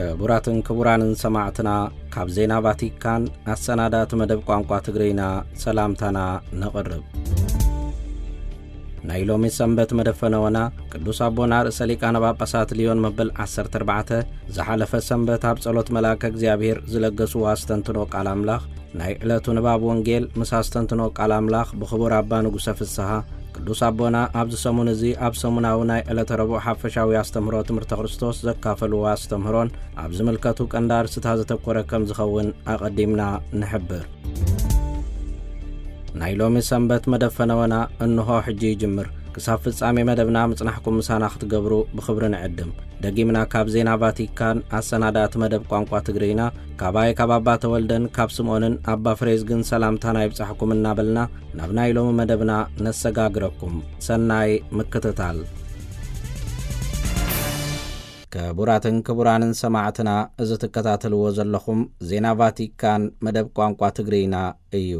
ክቡራትን ክቡራንን ሰማዕትና፣ ካብ ዜና ቫቲካን ኣሰናዳእቲ መደብ ቋንቋ ትግርይና ሰላምታና ነቕርብ። ናይ ሎሚ ሰንበት መደብ ፈነወና ቅዱስ ኣቦና ርእሰ ሊቃነ ጳጳሳት ልዮን መበል ዓሰርተ ኣርባዕተ ዝሓለፈ ሰንበት ኣብ ጸሎት መልኣከ እግዚኣብሔር ዝለገስዎ ኣስተንትኖ ቃል ኣምላኽ፣ ናይ ዕለቱ ንባብ ወንጌል ምስ ኣስተንትኖ ቃል ኣምላኽ ብኽቡር ኣባ ንጉሰ ፍስሃ፣ ቅዱስ ኣቦና ኣብዚ ሰሙን እዚ ኣብ ሰሙናዊ ናይ ዕለተ ረቡዕ ሓፈሻዊ ኣስተምህሮ ትምህርተ ክርስቶስ ዘካፈልዎ ኣስተምህሮን ኣብ ዝምልከቱ ቀንዲ ኣርእስታት ዘተኮረ ከም ዝኸውን ኣቐዲምና ንሕብር። ናይ ሎሚ ሰንበት መደብ ፈነወና እንሆ ሕጂ ይጅምር። ክሳብ ፍጻሜ መደብና ምጽናሕኩም ምሳና ክትገብሩ ብኽብሪ ንዕድም። ደጊምና ካብ ዜና ቫቲካን ኣሰናዳእቲ መደብ ቋንቋ ትግርይና፣ ካባይ ካብ ኣባ ተወልደን ካብ ስምኦንን ኣባ ፍሬዝግን ሰላምታና ይብጻሕኩም እናበልና፣ ናብ ናይ ሎሚ መደብና ነሰጋግረኩም። ሰናይ ምክትታል። ክቡራትን ክቡራንን ሰማዕትና፣ እዚ ትከታተልዎ ዘለኹም ዜና ቫቲካን መደብ ቋንቋ ትግርይና እዩ።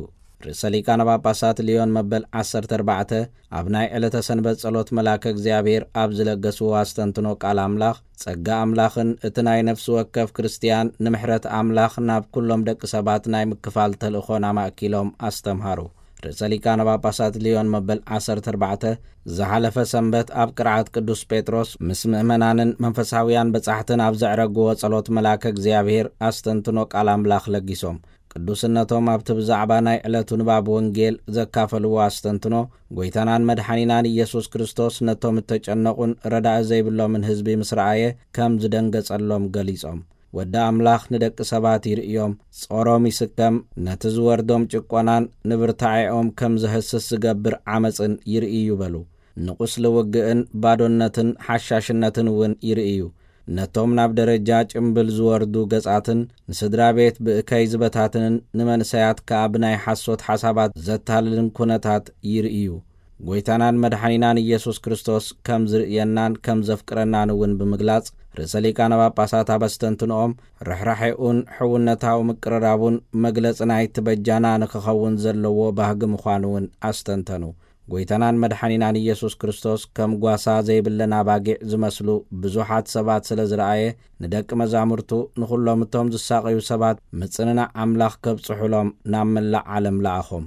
ርእሰ ሊቃነ ጳጳሳት ልዮን መበል ዓሰርተ ኣርባዕተ ኣብ ናይ ዕለተ ሰንበት ጸሎት መልኣከ እግዚኣብሔር ኣብ ዝለገስዎ ኣስተንትኖ ቃል ኣምላኽ፣ ጸጋ ኣምላኽን እቲ ናይ ነፍሲ ወከፍ ክርስትያን ንምሕረት ኣምላኽ ናብ ኩሎም ደቂ ሰባት ናይ ምክፋል ተልእኾን ኣማእኪሎም ኣስተምሃሩ። ርእሰ ሊቃነ ጳጳሳት ልዮን መበል ዓሰርተ ኣርባዕተ ዝሓለፈ ሰንበት ኣብ ቅርዓት ቅዱስ ጴጥሮስ ምስ ምእመናንን መንፈሳውያን በጻሕትን ኣብ ዘዕረግዎ ጸሎት መልኣከ እግዚኣብሔር ኣስተንትኖ ቃል ኣምላኽ ለጊሶም። ቅዱስነቶም ኣብቲ ብዛዕባ ናይ ዕለቱ ንባብ ወንጌል ዘካፈልዎ ኣስተንትኖ፣ ጎይታናን መድሓኒናን ኢየሱስ ክርስቶስ ነቶም እተጨነቑን ረዳኢ ዘይብሎምን ህዝቢ ምስ ረኣየ ከም ዝደንገጸሎም ገሊጾም። ወዲ ኣምላኽ ንደቂ ሰባት ይርእዮም፣ ጾሮም ይስከም፣ ነቲ ዝወርዶም ጭቆናን ንብርታዔኦም ከም ዘህስስ ዝገብር ዓመጽን ይርእዩ በሉ። ንቁስሊ ውግእን ባዶነትን ሓሻሽነትን እውን ይርእዩ። ነቶም ናብ ደረጃ ጭምብል ዝወርዱ ገጻትን ንስድራ ቤት ብእከይ ዝበታትንን ንመንሰያት ከኣ ብናይ ሓሶት ሓሳባት ዘታልልን ኩነታት ይርእዩ። ጎይታናን መድሓኒናን ኢየሱስ ክርስቶስ ከም ዝርእየናን ከም ዘፍቅረናን እውን ብምግላጽ፣ ርእሰ ሊቃነ ጳጳሳት ኣብ ኣስተንትንኦም ርሕራሐኡን ሕውነታዊ ምቅርራቡን መግለጺ ናይቲ በጃና ንክኸውን ዘለዎ ባህጊ ምዃኑ እውን ኣስተንተኑ። ጎይታናን መድሓኒናን ኢየሱስ ክርስቶስ ከም ጓሳ ዘይብለን ኣባጊዕ ዝመስሉ ብዙሓት ሰባት ስለ ዝረኣየ፣ ንደቂ መዛሙርቱ ንኹሎም እቶም ዝሳቐዩ ሰባት ምጽንናዕ ኣምላኽ ከብጽሑሎም ናብ መላእ ዓለም ለኣኾም።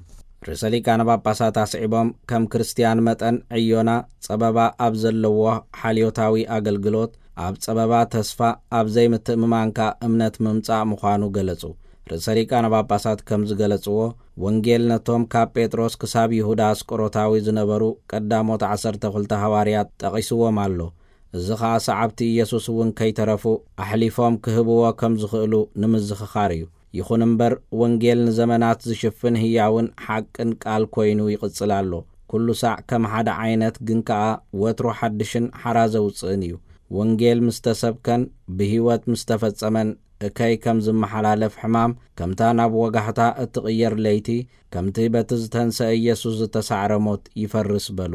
ርእሰ ሊቃነ ጳጳሳት ኣስዒቦም፣ ከም ክርስትያን መጠን ዕዮና ጸበባ ኣብ ዘለዎ ሓልዮታዊ ኣገልግሎት፣ ኣብ ጸበባ ተስፋ፣ ኣብ ዘይምትእምማንካ እምነት ምምጻእ ምዃኑ ገለጹ። ርእሰ ሊቃነ ጳጳሳት ከም ዝገለጽዎ፣ ወንጌል ነቶም ካብ ጴጥሮስ ክሳብ ይሁዳ ኣስቆሮታዊ ዝነበሩ ቀዳሞት ዓሰርተ ክልተ ሃዋርያት ጠቒስዎም ኣሎ። እዚ ኸኣ ሰዓብቲ ኢየሱስ እውን ከይተረፉ ኣሕሊፎም ክህብዎ ከም ዝኽእሉ ንምዝኽኻር እዩ። ይኹን እምበር፣ ወንጌል ንዘመናት ዝሽፍን ህያውን ሓቅን ቃል ኮይኑ ይቕጽል ኣሎ። ኩሉ ሳዕ ከም ሓደ ዓይነት፣ ግን ከኣ ወትሩ ሓድሽን ሓራ ዘውጽእን እዩ። ወንጌል ምስ ተሰብከን ብህይወት ምስ ተፈጸመን፣ እከይ ከም ዝመሓላለፍ ሕማም፣ ከምታ ናብ ወጋሕታ እትቕየር ለይቲ፣ ከምቲ በቲ ዝተንሰአ ኢየሱስ ዝተሳዕረ ሞት ይፈርስ በሉ።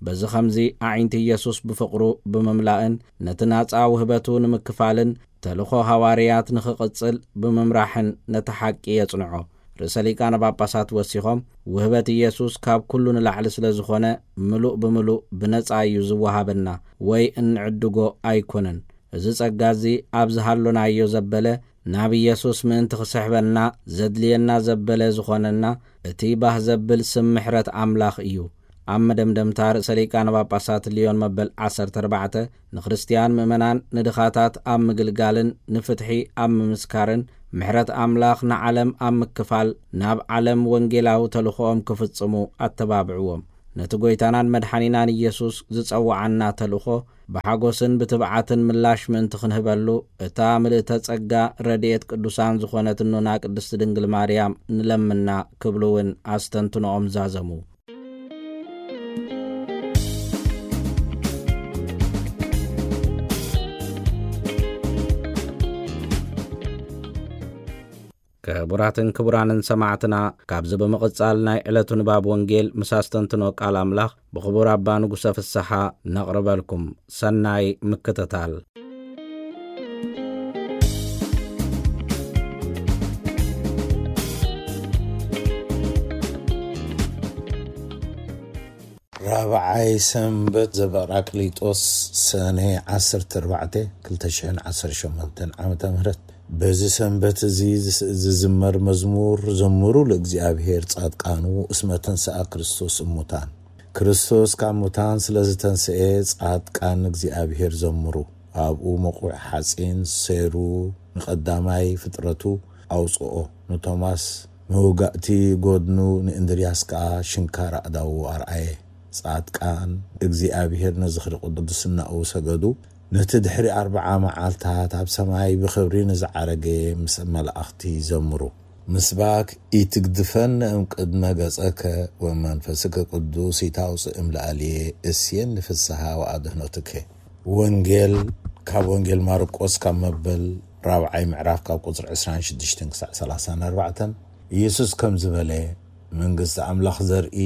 በዚ ኸምዚ፣ ኣዒንቲ ኢየሱስ ብፍቕሩ ብምምላእን ነቲ ናጻ ውህበቱ ንምክፋልን፣ ተልእኾ ሃዋርያት ንኽቕጽል ብምምራሕን ነቲ ሓቂ የጽንዖ። ርእሰ ሊቃነ ጳጳሳት ወሲኾም፣ ውህበት ኢየሱስ ካብ ኩሉ ንላዕሊ ስለ ዝኾነ፣ ምሉእ ብምሉእ ብነጻ እዩ ዝወሃበና ወይ እንዕድጎ ኣይኮነን። እዚ ጸጋ እዚ ኣብ ዝሃሎናዮ ዘበለ፣ ናብ ኢየሱስ ምእንቲ ክስሕበና ዘድልየና ዘበለ ዝኾነና፣ እቲ ባህ ዘብል ስም ምሕረት ኣምላኽ እዩ። ኣብ መደምደምታ፣ ርእሰ ሊቃነ ጳጳሳት ልዮን መበል ዓሰርተ ኣርባዕተ ንክርስትያን ምእመናን ንድኻታት ኣብ ምግልጋልን ንፍትሒ ኣብ ምምስካርን፣ ምሕረት ኣምላኽ ንዓለም ኣብ ምክፋል፣ ናብ ዓለም ወንጌላዊ ተልእኾኦም ክፍጽሙ ኣተባብዕዎም። ነቲ ጐይታናን መድሓኒናን ኢየሱስ ዝጸውዓና ተልእኾ ብሓጎስን ብትብዓትን ምላሽ ምእንቲ ክንህበሉ፣ እታ ምልእተ ጸጋ ረድኤት ቅዱሳን ዝኾነት እኖና ቅድስቲ ድንግል ማርያም ንለምና ክብሉ እውን ኣስተንትኖኦም ዛዘሙ። ክቡራትን ክቡራንን ሰማዕትና፣ ካብዚ ብምቕጻል ናይ ዕለቱ ንባብ ወንጌል ምስ ኣስተንትኖ ቃል ኣምላኽ ብኽቡር ኣባ ንጉሰ ፍስሓ ነቕርበልኩም። ሰናይ ምክትታል። ራብዓይ ሰንበት ዘበራቅሊጦስ፣ ሰነ ዓሰርተ ኣርባዕተ፣ ክልተ ሽሕን ዓሰርተ ሸሞንተን ዓመተ ምህረት። በዚ ሰንበት እዚ ዝስ-፣ ዝዝመር መዝሙር፣ ዘምሩ ለእግዚኣብሔር ጻድቃኑ እስመ ተንሥአ ክርስቶስ እሙታን። ክርስቶስ ካብ ሙታን ስለ ዝተንስኤ፣ ጻድቃን እግዚኣብሔር ዘምሩ። ኣብኡ መቑዕ ሓጺን ሰይሩ ንቐዳማይ ፍጥረቱ ኣውጽኦ፣ ንቶማስ መውጋእቲ ጎድኑ፣ ንእንድርያስ ከኣ ሽንካር ኣእዳዉ ኣርኣየ። ጻድቃን እግዚኣብሔር ንዝኽሪ ቅድስናኡ ሰገዱ። ነቲ ድሕሪ ኣርብዓ መዓልታት ኣብ ሰማይ ብኽብሪ ንዝዓረገ ምስ መላእኽቲ ዘምሩ። ምስባክ ኢትግድፈን እምቅድመ ገጸከ ወመንፈስከ ቅዱስ ኢታውፅእ እምለኣልየ እስየን ንፍስሃ ወኣድህኖትከ። ወንጌል ካብ ወንጌል ማርቆስ ካብ መበል ራብዓይ ምዕራፍ ካብ ቁጽሪ ዕስራን ሽዱሽተን ክሳዕ ሰላሳን ኣርባዕተን፣ ኢየሱስ ከምዚ በለ፣ መንግስቲ ኣምላኽ ዘርኢ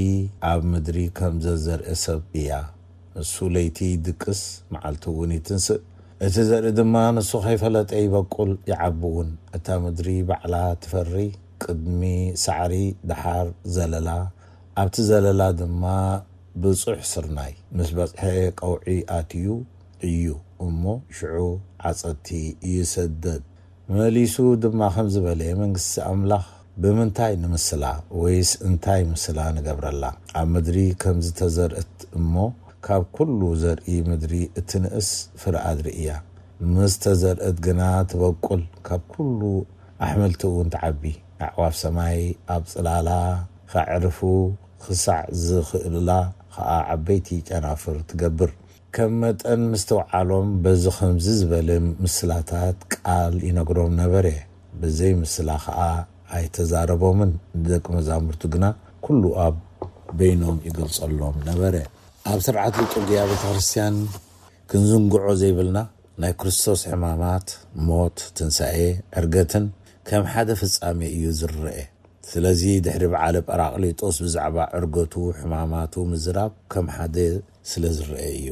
ኣብ ምድሪ ከም ዘዘርእ ሰብ እያ። ንሱ ለይቲ ይድቅስ፣ መዓልቲ እውን ይትንስእ። እቲ ዘርኢ ድማ ንሱ ከይፈለጠ ይበቁል፣ ይዓቢ እውን። እታ ምድሪ ባዕላ ትፈሪ፣ ቅድሚ ሳዕሪ፣ ደሓር ዘለላ፣ ኣብቲ ዘለላ ድማ ብጹሕ ስርናይ ምስ በጽሐ ቀውዒ ኣትዩ እዩ እሞ ሽዑ ዓጸድቲ ይሰደድ። መሊሱ ድማ ከምዚ በለ፣ መንግስቲ ኣምላኽ ብምንታይ ንምስላ ወይስ እንታይ ምስላ ንገብረላ? ኣብ ምድሪ ከም ዝተዘርአት እሞ ካብ ኩሉ ዘርኢ ምድሪ እትንእስ ፍረ ኣድሪ እያ። ምስ ተዘርአት ግና ትበቁል፣ ካብ ኩሉ ኣሕምልቲ እውን ትዓቢ። ኣዕዋፍ ሰማይ ኣብ ጽላላ ከዕርፉ ክሳዕ ዝኽእላ ኸኣ ዓበይቲ ጨናፍር ትገብር። ከም መጠን ምስትውዓሎም በዚ ኸምዚ ዝበለ ምስላታት ቃል ይነግሮም ነበረ። ብዘይ ምስላ ኸኣ ኣይተዛረቦምን። ንደቂ መዛሙርቱ ግና ኩሉ ኣብ በይኖም ይገልጸሎም ነበረ። ኣብ ስርዓት ሊጡርግያ ቤተ ክርስቲያን ክንዝንግዖ ዘይብልና ናይ ክርስቶስ ሕማማት፣ ሞት፣ ትንሳኤ፣ ዕርገትን ከም ሓደ ፍጻሜ እዩ ዝረአ። ስለዚ ድሕሪ በዓለ ጳራቅሊጦስ ብዛዕባ ዕርገቱ፣ ሕማማቱ ምዝራብ ከም ሓደ ስለ ዝረአ እዩ።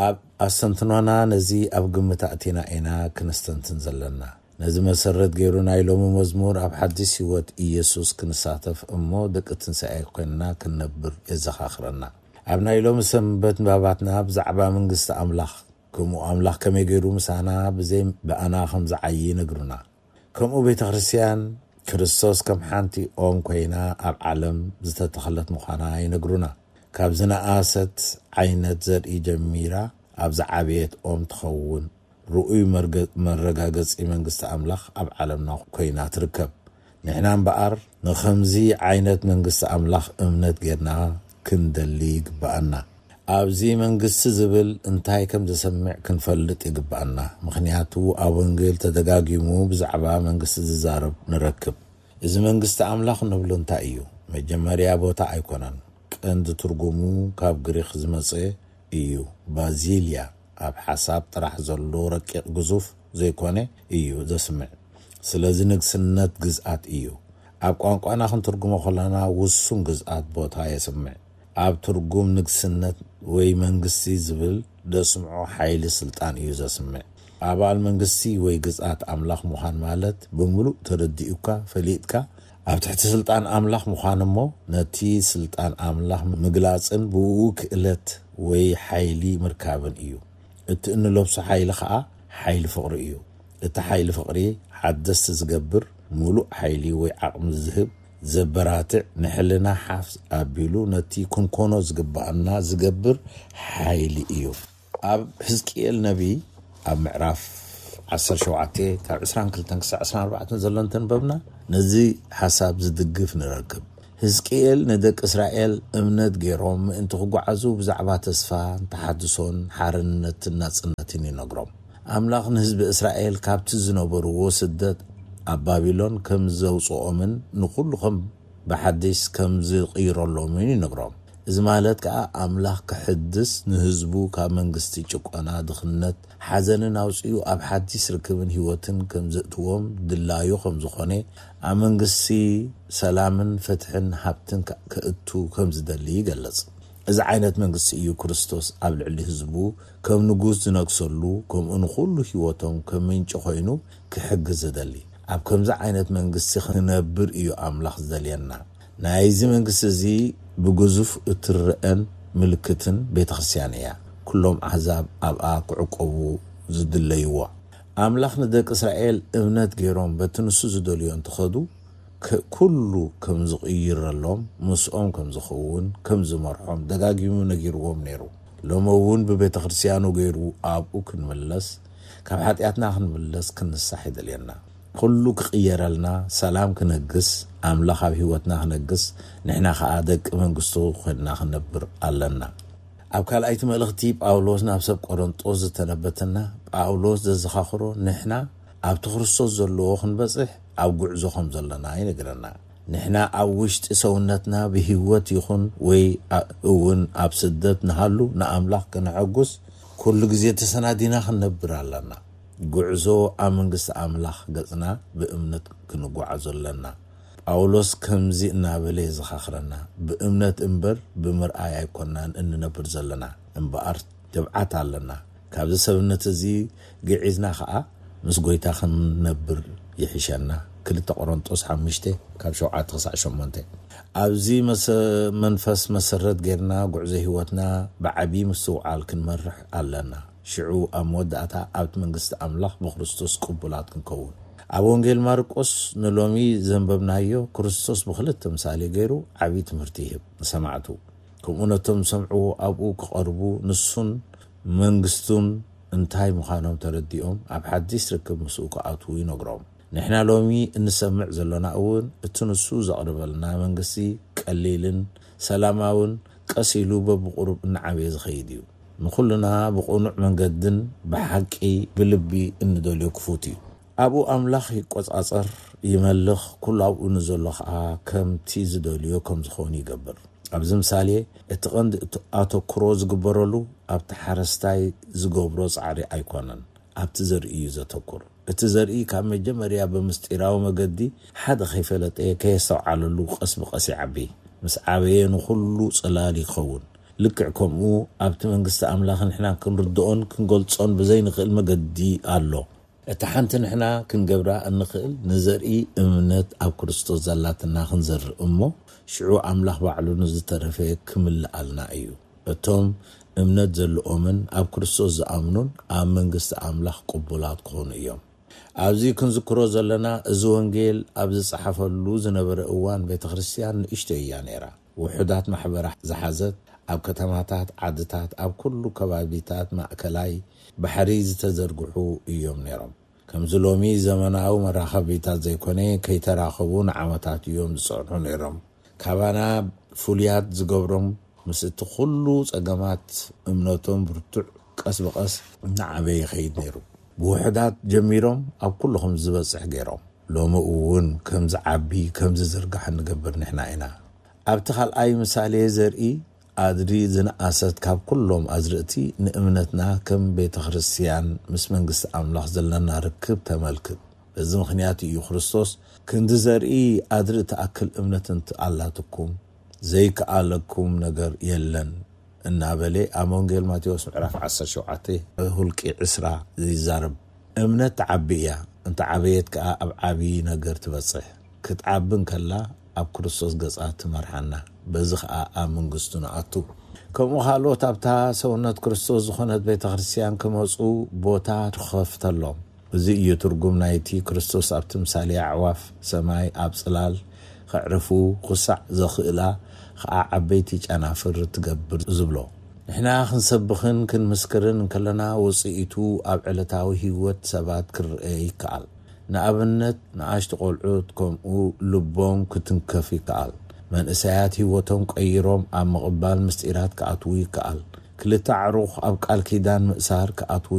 ኣብ ኣስተንትኖና ነዚ ኣብ ግምት ኣእቲና ኢና ክነስተንትን ዘለና። ነዚ መሰረት ገይሩ ናይ ሎሚ መዝሙር ኣብ ሓድሽ ህይወት ኢየሱስ ክንሳተፍ እሞ ደቂ ትንሳኤ ኮይንና ክንነብር የዘኻኽረና። ኣብ ናይ ሎሚ ሰንበት ንባባትና ብዛዕባ መንግስቲ ኣምላኽ፣ ከምኡ ኣምላኽ ከመይ ገይሩ ምሳና ብዘይ ብኣና ከም ዝዓዪ ይነግሩና። ከምኡ ቤተ ክርስቲያን ክርስቶስ ከም ሓንቲ ኦም ኮይና ኣብ ዓለም ዝተተኸለት ምዃና ይነግሩና። ካብ ዝነኣሰት ዓይነት ዘርኢ ጀሚራ ኣብ ዝዓበየት ኦም ትኸውን ርኡይ መርገ-፣ መረጋገጺ መንግስቲ ኣምላኽ ኣብ ዓለምና ኮይና ትርከብ። ንሕና እምበኣር ንኸምዚ ዓይነት መንግስቲ ኣምላኽ እምነት ጌርና ክንደሊ ይግብኣና። ኣብዚ መንግስቲ ዝብል እንታይ ከም ዘሰምዕ ክንፈልጥ ይግብኣና። ምኽንያቱ ኣብ ወንጌል ተደጋጊሙ ብዛዕባ መንግስቲ ዝዛረብ ንረክብ። እዚ መንግስቲ ኣምላኽ ንብሎ እንታይ እዩ? መጀመርያ ቦታ ኣይኮነን። ቀንዲ ትርጉሙ ካብ ግሪኽ ዝመጸ እዩ። ባዚልያ ኣብ ሓሳብ ጥራሕ ዘሎ ረቂቕ ግዙፍ ዘይኮነ እዩ ዘስምዕ። ስለዚ ንግስነት ግዝኣት እዩ። ኣብ ቋንቋና ክንትርጉሞ ከለና ውሱን ግዝኣት ቦታ የስምዕ። ኣብ ትርጉም ንግስነት ወይ መንግስቲ ዝብል ደስምዖ ሓይሊ ስልጣን እዩ ዘስምዕ። ኣባል መንግስቲ ወይ ግዝኣት ኣምላኽ ምዃን ማለት ብምሉእ ተረዲኡካ፣ ፈሊጥካ፣ ኣብ ትሕቲ ስልጣን ኣምላኽ ምዃን እሞ ነቲ ስልጣን ኣምላኽ ምግላጽን ብኡ ክእለት ወይ ሓይሊ ምርካብን እዩ። እቲ እንለብሶ ሓይሊ ኸኣ ሓይሊ ፍቕሪ እዩ። እቲ ሓይሊ ፍቕሪ ሓደስቲ ዝገብር፣ ምሉእ ሓይሊ ወይ ዓቕሚ ዝህብ፣ ዘበራትዕ፣ ንሕልና ሓፍ ኣቢሉ ነቲ ክንኮኖ ዝግብኣና ዝገብር ሓይሊ እዩ። ኣብ ሕዝቅኤል ነቢ ኣብ ምዕራፍ ዓሰርተ ሸውዓተ ካብ ዕስራን ክልተን ክሳዕ ዕስራን ኣርባዕተን ዘሎ እንተንበብና ነዚ ሓሳብ ዝድግፍ ንረክብ። ሕዝቅኤል ንደቂ እስራኤል እምነት ገይሮም ምእንቲ ክጓዓዙ ብዛዕባ ተስፋን ተሓድሶን ሓርነትን ናጽነትን ይነግሮም። ኣምላኽ ንህዝቢ እስራኤል ካብቲ ዝነበርዎ ስደት ኣብ ባቢሎን ከም ዘውጽኦምን ንኹሉ ከም ብሓድሽ ከም ዝቕይረሎምን ይነግሮም። እዚ ማለት ከኣ ኣምላኽ ክሕድስ ንህዝቡ ካብ መንግስቲ ጭቆና፣ ድኽነት፣ ሓዘንን ኣውጺኡ ኣብ ሓድሽ ርክብን ህይወትን ከም ዘእትዎም ድላዩ ከም ዝኾነ፣ ኣብ መንግስቲ ሰላምን ፍትሕን ሃብትን ከ-፣ ከእቱ ከም ዝደሊ ይገልጽ። እዚ ዓይነት መንግስቲ እዩ ክርስቶስ ኣብ ልዕሊ ህዝቡ ከም ንጉስ ዝነግሰሉ፣ ከምኡ ንኹሉ ህይወቶም ከም ምንጪ ኮይኑ ክሕግዝ ዝደሊ። ኣብ ከምዚ ዓይነት መንግስቲ ክነብር እዩ ኣምላኽ ዝደልየና። ናይዚ መንግስቲ እዚ ብግዙፍ እትረአን ምልክትን ቤተ ክርስቲያን እያ። ኩሎም ኣሕዛብ ኣብኣ ክዕቆቡ ዝድለይዎ። ኣምላኽ ንደቂ እስራኤል እምነት ገይሮም በቲ ንሱ ዝደልዮ እንትኸዱ፣ ከ-፣ ኩሉ ከም ዝቕይረሎም፣ ምስኦም ከም ዝኸውን፣ ከም ዝመርሖም ደጋጊሙ ነጊርዎም ነይሩ። ሎሚ እውን ብቤተ ክርስቲያኑ ገይሩ ኣብኡ ክንምለስ፣ ካብ ሓጢኣትና ክንምለስ ክንንሳሕ ይደልየና። ኩሉ ክቕየረልና፣ ሰላም ክነግስ፣ ኣምላኽ ኣብ ህይወትና ክነግስ፣ ንሕና ኸኣ ደቂ መንግስቱ ኮይንና ክነብር ኣለና። ኣብ ካልኣይቲ መልእኽቲ ጳውሎስ ናብ ሰብ ቆሮንጦስ ዝተነበተና፣ ጳውሎስ ዘዘኻኽሮ ንሕና ኣብቲ ክርስቶስ ዘለዎ ክንበጽሕ ኣብ ጉዕዞ ከም ዘለና ይነግረና። ንሕና ኣብ ውሽጢ ሰውነትና ብህይወት ይኹን ወይ ኣ-፣ እውን ኣብ ስደት ንሃሉ ንኣምላኽ ከነሐጉስ ኩሉ ግዜ ተሰናዲና ክንነብር ኣለና። ጉዕዞ ኣብ መንግስቲ ኣምላኽ ገጽና ብእምነት ክንጓዓዞ ኣለና። ጳውሎስ ከምዚ እናበለ የዘኻኽረና፣ "ብእምነት እምበር ብምርኣይ ኣይኮናን እንነብር ዘለና፣ እምበኣር ትብዓት ኣለና። ካብዚ ሰብነት እዚ ግዒዝና ኸኣ ምስ ጐይታ ክንነብር ይሕሸና።" ክልተ ቆሮንጦስ ሓሙሽተ ካብ ሸውዓተ ክሳዕ ሸሞንተ። ኣብዚ መሰ-፣ መንፈስ መሰረት ጌርና ጉዕዞ ህይወትና ብዓቢ ምስትውዓል ክንመርሕ ኣለና። ሽዑ ኣብ መወዳእታ ኣብቲ መንግስቲ ኣምላኽ ብክርስቶስ ቅቡላት ክንከውን። ኣብ ወንጌል ማርቆስ ንሎሚ ዘንበብናዮ፣ ክርስቶስ ብኽልተ ምሳሌ ገይሩ ዓቢ ትምህርቲ ይህብ ንሰማዕቱ። ከምኡ ነቶም ዝሰምዕዎ ኣብኡ ክቐርቡ፣ ንሱን መንግስቱን እንታይ ምዃኖም ተረዲኦም ኣብ ሓድሽ ርክብ ምስኡ ክኣትዉ ይነግሮም። ንሕና ሎሚ እንሰምዕ ዘሎና እውን እቲ ንሱ ዘቕርበልና መንግስቲ ቀሊልን ሰላማውን ቀስ ኢሉ በብቁሩብ እናዓበየ ዝኸይድ እዩ። ንኹልና ብቕኑዕ መንገድን ብሓቂ ብልቢ እንደልዮ ክፉት እዩ። ኣብኡ ኣምላኽ ይቆጻጸር፣ ይመልኽ፣ ኩሉ ኣብኡ ንዘሎ ኸኣ ከምቲ ዝደልዮ ከም ዝኾን ይገብር። ኣብዚ ምሳሌ እቲ ቀንዲ እቲ ኣተኩሮ ዝግበረሉ ኣብቲ ሓረስታይ ዝገብሮ ጻዕሪ ኣይኮነን፣ ኣብቲ ዘርኢ እዩ ዘተኩር። እቲ ዘርኢ ካብ መጀመርያ ብምስጢራዊ መገዲ ሓደ ከይፈለጠ ከየስተውዓለሉ ቀስ ብቐስ ይዓቢ። ምስ ዓበየ ንኹሉ ጽላል ይኸውን። ልክዕ ከምኡ ኣብቲ መንግስቲ ኣምላኽ ንሕና ክንርድኦን ክንገልጾን ብዘይንኽእል መገዲ ኣሎ። እታ ሓንቲ ንሕና ክንገብራ እንኽእል ንዘርኢ እምነት ኣብ ክርስቶስ ዘላትና ክንዘርእ እሞ ሽዑ ኣምላኽ ባዕሉ ንዝተረፈ ክምልኣልና እዩ። እቶም እምነት ዘለኦምን ኣብ ክርስቶስ ዝኣምኑን ኣብ መንግስቲ ኣምላኽ ቅቡላት ክኾኑ እዮም። ኣብዚ ክንዝክሮ ዘለና እዚ ወንጌል ኣብ ዝጸሓፈሉ ዝነበረ እዋን ቤተ ክርስቲያን ንእሽቶ እያ ነይራ። ውሑዳት ማሕበራ ዝሓዘት ኣብ ከተማታት፣ ዓድታት፣ ኣብ ኩሉ ከባቢታት ማእከላይ ባሕሪ ዝተዘርግሑ እዮም ነይሮም። ከምዚ ሎሚ ዘመናዊ መራኸቢታት ዘይኮነ፣ ከይተራኸቡ ንዓመታት እዮም ዝጸንሑ ነይሮም። ካባና ፍሉያት ዝገብሮም ምስ እቲ ኩሉ ጸገማት እምነቶም ብርቱዕ ቀስ ብቐስ እናዓበየ ይኸይድ ነይሩ። ብውሑዳት ጀሚሮም ኣብ ኩሉ ከም ዝበጽሕ ገይሮም። ሎሚ እውን ከም ዝዓቢ፣ ከም ዝዝርጋሕ እንገብር ንሕና ኢና። ኣብቲ ካልኣይ ምሳሌ ዘርኢ ኣድሪ ዝነኣሰት ካብ ኩሎም ኣዝርእቲ ንእምነትና ከም ቤተ ክርስቲያን ምስ መንግስቲ ኣምላኽ ዘለና ርክብ ተመልክት። በዚ ምኽንያት እዩ ክርስቶስ፣ "ክንዲ ዘርኢ ኣድሪ ትኣክል እምነት እንተ ኣላትኩም ዘይከኣለኩም ነገር የለን" እናበለ ኣብ ወንጌል ማቴዎስ ምዕራፍ ዓሰርተ ሸውዓተ ሁልቂ ዕስራ ይዛረብ። እምነት ትዓቢ እያ፣ እንተ ዓበየት ከኣ ኣብ ዓቢ ነገር ትበጽሕ። ክትዓቢ እንከላ ኣብ ክርስቶስ ገጻ ትመርሓና፣ በዚ ኸኣ ኣብ መንግስቱ ንኣቱ። ከምኡ ካልኦት ኣብታ ሰውነት ክርስቶስ ዝኾነት ቤተ ክርስቲያን ክመጹ ቦታ ትኸፍተሎም። እዚ እዩ ትርጉም ናይቲ ክርስቶስ ኣብ ትምሳሌ ኣዕዋፍ ሰማይ ኣብ ጽላል ከዕርፉ ክሳዕ ዘኽእላ ኸኣ ዓበይቲ ጨናፍር ትገብር ዝብሎ። ንሕና ክንሰብኽን ክንምስክርን እንከለና ውጽኢቱ ኣብ ዕለታዊ ህይወት ሰባት ክረአ ይከኣል። ንኣብነት ንኣሽቱ ቆልዑት ከምኡ ልቦም ክትንከፍ ይከኣል። መንእሰያት ህይወቶም ቀይሮም ኣብ ምቕባል ምስጢራት ክኣትዉ ይከኣል። ክልተ ኣዕሩኽ ኣብ ቃል ኪዳን ምእሳር ክኣትዉ